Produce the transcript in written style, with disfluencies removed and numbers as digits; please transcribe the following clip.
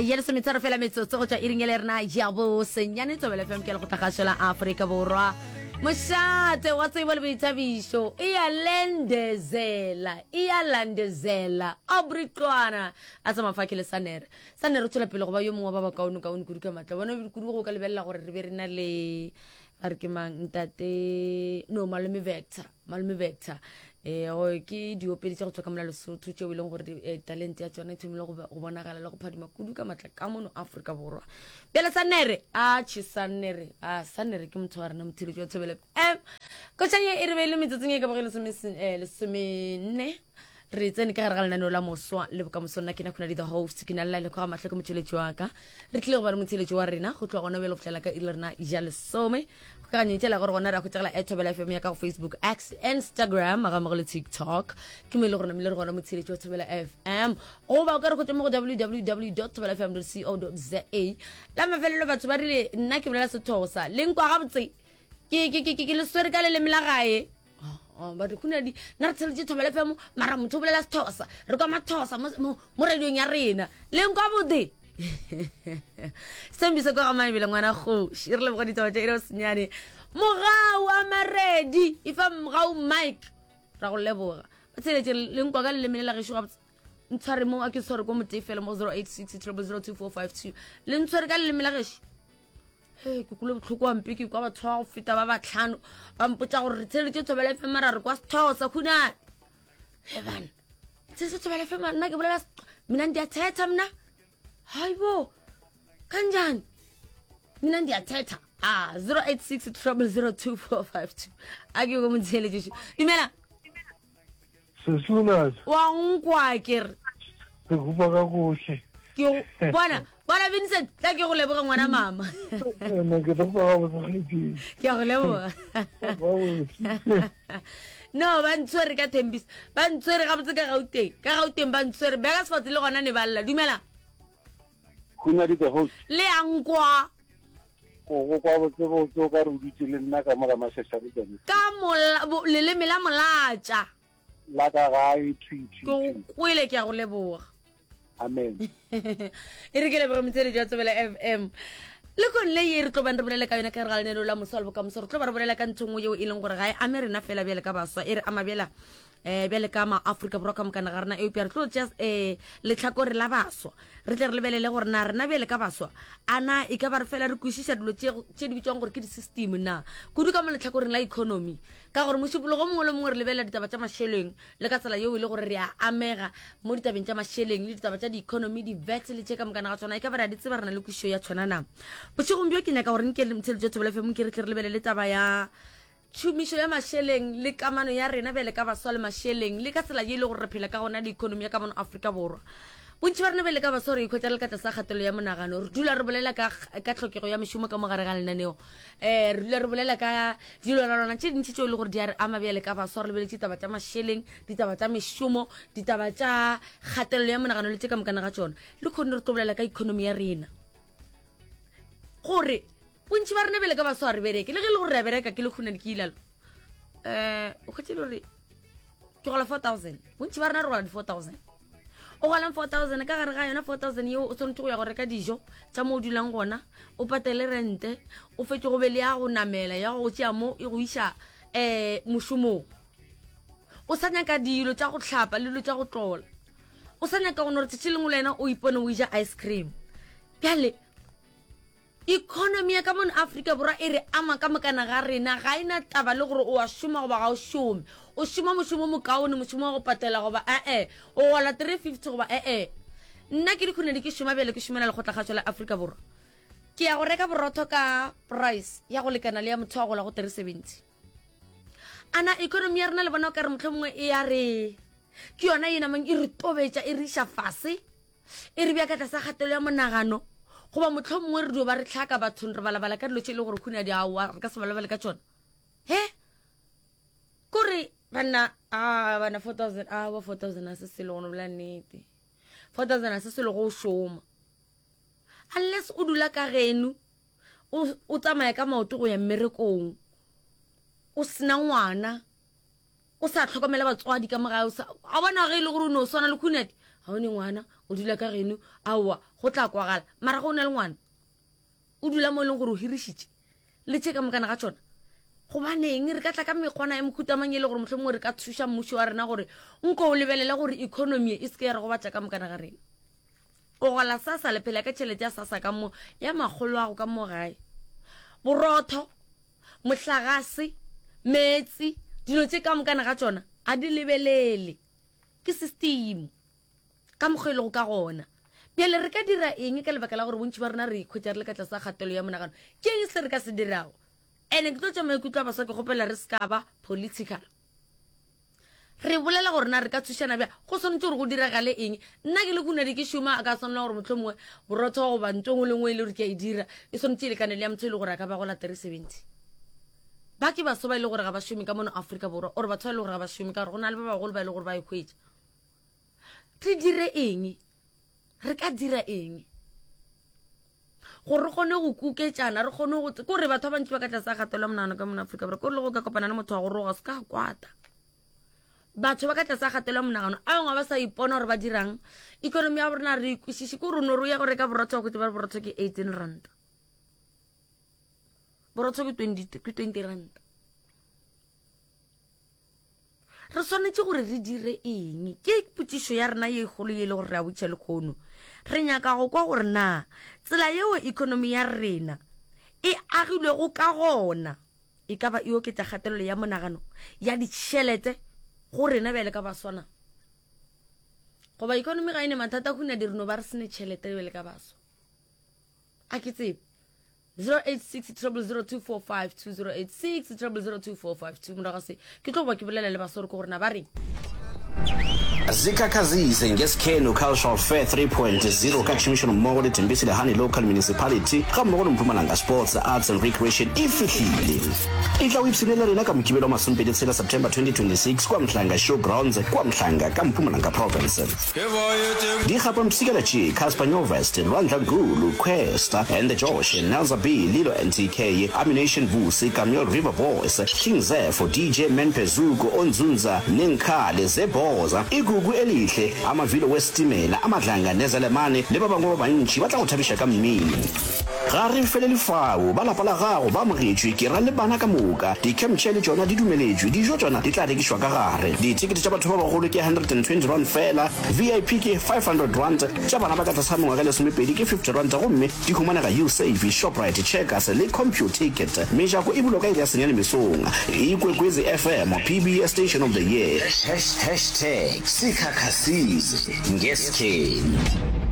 Ya lesometharo fela metsotso go tšwa iring ya le rena ya bosenyane Thobela FM ke lekgotlakgašo la Afrika Borwa. Mošate wa tsebo le boithabišo e ya lendezela e ya landezela Aubrey Qwana a sa mafake le Sanere. Sanere o tšwela pele go ba yo mongwe wa ba bakaone-kaone kudu ka matla. Bona kudu go ka lebelela gore re be re na le ba re ke mang ntate no malome Vector. Malome Vector um ke diopedi tša go tswa ka mola Lesotho tšeo e leng gore eh, talente ya tšona e thomile go bonagala le go phadima kudu ka matla ka mono Afrika Borwa. Bjale Sanere a che Sanere a Sanere ke motho wa rena motheletši wa Thobela FM. Koša ye e re beile metsotsong e ka bago e lesomenne re tsene ka gare ga lenaneo la moswa le bokamoso nna ke na khona di the host ke na le laele kwa ga mahlo ke motšweletši wa ka re tlile go ba le motheletši wa rena go tloga gona bjale go fihlela ka iri le rena ja lesome kgokaganyong tšela gore gona re a hwetšagala at Thobela FM ya ka go Facebook X Instagram ga mmogo le TikTok ke mo e le gore namile re gona motheletši wa Thobela FM goba o ka re hwetša mo go www thobelafm co za la mafelelo batho ba rile nna ke bolela sethosa le nkwa gabotse ke le swere ka leleme la gae oh, oh, ba re khunadi nna re tsheletše Thobela FM mara motho o bolela sethosa re kwa mathosa mo radiong ya rena le nkwa botse sembise kwa ga mabele ngwana kgoši re leboga ditaba tša ire senyane mogau a maredi e fa mogau mike ra go leboga ba tsheletše le nkwa ka leleme le la gešo gabotse ntshware mo a ke tshware ko motee fela mo 086 0002452 le ntshware ka leleme la gešo he ke kule botlhoko wampe ke kwa batho ba go feta ba batlhano ba mpotsa gore re tsheletše thobela fe mara re kwa sethosa khunane he bana se se thobela fe mara nna ke bolela mina ndiyathetha mna hayibo kanjani mina ndiyathetha ah 086 0002452 a ke go motsheletše dumela Sesunas. Wa nkwa ke re. Re kupa ka gohle. Ke bona bona Vincent tla ke go leboga ngwana mama. Nna ke tlo go botsa Ke a go leboga. No ba ntshwere ka Thembisa. Ba ntshwere ga botse ka Gauteng. Ka Gauteng ba ntshwere. Beka sefatse le gona ne ba lla. Dumela. Khunadi the host. Le a nkwa. Go go kwa botse botse o ka re o dutse le nna ka mo ga Mashashane tsone. Ka mola, bo, leleme la molatša. La ka gae thwi thwi Ke go thwi. kwele ke a go leboga. Amen. E re ke leboge motheeletši wa Tsebela FM. Lekong le ye re tlo bang re bolela ka yona ka gare ga lenaneo la Moswa le Bokamoso, re tlo ba re bolela ka ntho nngwe yeo e leng gore ga e ame rena fela bjale ka baswa, e re ama bjela um bjale ka maafrika borwa ka mokana ga rena eupša re tlo tšea um letlhakore la baswa re tle re lebelele gore na rena bjale ka baswa a na e ka ba re fela re kwešiša dilo tše di bitswang gore ke di-system na kudu ka mo letlhakoreng la economy ka gore mošupologo mongwe le mongwe re lebelela ditaba tša mašeleng le ka tsela yeo e le gore re a amega mo ditabeng tša mašeleng le ditaba tša di-economy di-vet le tše ka mokana ga tsona e ka ba re a di tseba re na le kwešišo ya tshwana na bošegong bjo ke nyaka gore nke le motšheletšo thobela fm ke re tle re lebelele taba ya Tšhomišo ya mašeleng le kamano ya rena bjale ka baswa le mašeleng le ka tsela ye e le gore re phela ka gona le ekonomi ya ka mono Afrika Borwa. Bontši ba rena bjale ka baswa re ikhwetša re le ka tlase ga kgatelelo ya monagano. Re dula re bolela ka, ka tlhokego ya mešomo ka mo gare ga lenaneo. Um re dula re bolela ka dilwanalwana tše dintši tšeo e le gore di a re ama bjale ka baswa re lebeletše ditaba tša mašeleng, ditaba tša mešomo, ditaba tša kgatelelo ya monagano le tše ka mokana ga tšona. Le kgonne re tlo bolela ka ekonomi ya rena gore bontši ba rena bjale ka baswa re bereke le ge e le gore re a bereka ke le khunane ke ilalo um o kgwetse le gore ke gola 4000 bontši ba rena re gola di-4000 o golang 4000 ka gare ga yona 4000 yeo o tshwanetse go ya go reka dijo tša mo o dulang gona o patele rente o fetse go be le ya go namela ya go tšea mo e go iša um mošomong o sa nyaka dilo tša go hlapa le dilo tša go tlola o sa nyaka go no re tšatši lengwe le wena o ipone o ija ice cream bjale Economy ya ka mono Afrika Borwa e re ama ka mokana ga rena, ga e na taba le gore o a šoma goba ga o šome. O šoma mošomo o mokaone, mošomo wa go patela goba e-e, o gola 350 goba e-e. Nna ke dikhunedi ke šoma bjale ke šomela Lekgotlakgašo la Afrika Borwa. Ke ya go reka borotho ka price ya go lekana le ya motho wa gola go 370. A na economy ya rena le bona o ka re mohlomongwe e ya re ke yona ye namang e re tobetša e re iša fase? E re bja ka tlasa kgatelo ya monagano, goba mohlomongwe re dio ba re hlaka bathong re balabala ka dilo tše e le gore khuna di aowa re ka se balabale ka tšona. He? Kore banna a bana 4000 a ba 4000 a se selo go no bolela nnete. 4000 a se selo go šoma. Unless o dula ka geno o o tsamaya ka maoto go ya mmerekong o sena ngwana o sa tlhokomela batswadi ka mogae o sa a bona ge e le gore o ne o swana le khunadi. ga o ne ngwana o dula ka geno aowa go tla kwagala mara go o na le ngwana o dula mo e leng gore o hirišitše le tše ka mokana ga tšona gobaneng re ka tla ka mekgwana ya mohutamang e le gore motlho mongwe re ka thuša mmušo wa rena gore nko o lebelele gore economy e se ke ya re gobatša ka mokana ga rena o gola sasa le phela ka tšhelete ya sasa ka mo ya makgolo ago ka mo gae borotho mohlagase meetse dilo tše ka mokana ga tšona a di lebelele ke system ka mokgwa e lego ka gona bjale re ka dira eng ka lebaka la gore bontši ba rena re ikhwetša re le ka tlase ga kgatelo ya monagano ke eng se re ka se dirago ene ke tlo tša maikutlo a baswa ke kgopela re se ka ba political re bolela gore na re ka thušana bja go swanetše gore go diragale eng nna ke le kunadi ke šoma a ka swanela gore motlho mongwe borotho goba nto ngwe le ngwe e le gore ke a e dira e swanetše e lekane le ya motho e le gore a ka ba gola 370 ba ke baso ba e le gore ga ba šome ka mono Afrika Borwa or batho ba e le gore ga ba šome ka gore go na le ba bagolo ba e le gore ba e hwetša re dire eng re ka dira eng gore re kgone go kuketšana re kgone go kore batho ba bantši ba ka tlase a kgatelwa monagano ka mona Afrika Borwa kore le go ka kopana le motho wa go roga se ka kwata batho ba ka tlase a kgatelwa monagano a bangwe ba sa ipona gore ba dirang economy ya rona re ikwešiše ke gore o no re o ya go reka borotho wa kgotse ba re borotho ke 18 rand borotho ke 20 ke 20 rand re swanetše gore re dire eng ke potšišo ya rena ye kgolo ye e le gore re a botšiša lekgono re nyaka go kwa gore na tsela yeo economy ya rena e agilwego ka gona e ka ba e oketša kgatelelo ya monagano ya ditšhelete go rena bjale ka baswana goba economy ga e ne mathata go di re no ba re sene tšhelete bjale ka baswa a ke tsebe 086 0002452 086 0002452 morago se ke tlo ba ke bolela le basore ke gore na ba reng Zikhakhazise ngeSkhenu Cultural Fair 3.0 ka tšhomišanommogo le Thembisile Hani Local Municipality gammogo le Mpumalanga Sports, Arts and Recreation e fihlile. E tla o ipshine le rena ka Mokibelo wa masomepedi tshela September 2026 kua Mhlanga Show Grounds kua Mhlanga ka Mpumalanga Province. Dikgapampshikela tše, Cassper Nyovest, Lwandla Gulu, Kwesta, and the Josh, Nelza B, Lilo NTK, Ammunition Vusi, Kameel River Boys, King Zepho, DJ Man Phezuko, Onzunza, Nenkhale, Zebhoza, Igugu Elihle, Amavilo Wesitimela, Amadlanga Nezelemane le ba bangwe ba bantši ba tla go thabiša ka mmino. Ga re felele fao, ba lapa la gago ba amogetšwe, ke ra le bana ka moka. Di-camp chair le tšona di dumeletšwe, dijo tšona di tla rekišwa ka gare. Dithekete tša batho ba bagolo ke R120 feela, VIP ke R500, tša bana ba ka tlase ga mengwaga e lesomepedi ke R50 gomme di humanega Usave, Shoprite, Checkers le Computicket. Mejako e bulwa ka iri ya senyane mesong. Ikwekwezi FM, PBS Station of the Year. Hashtag sikhakhasize ngeskhenu.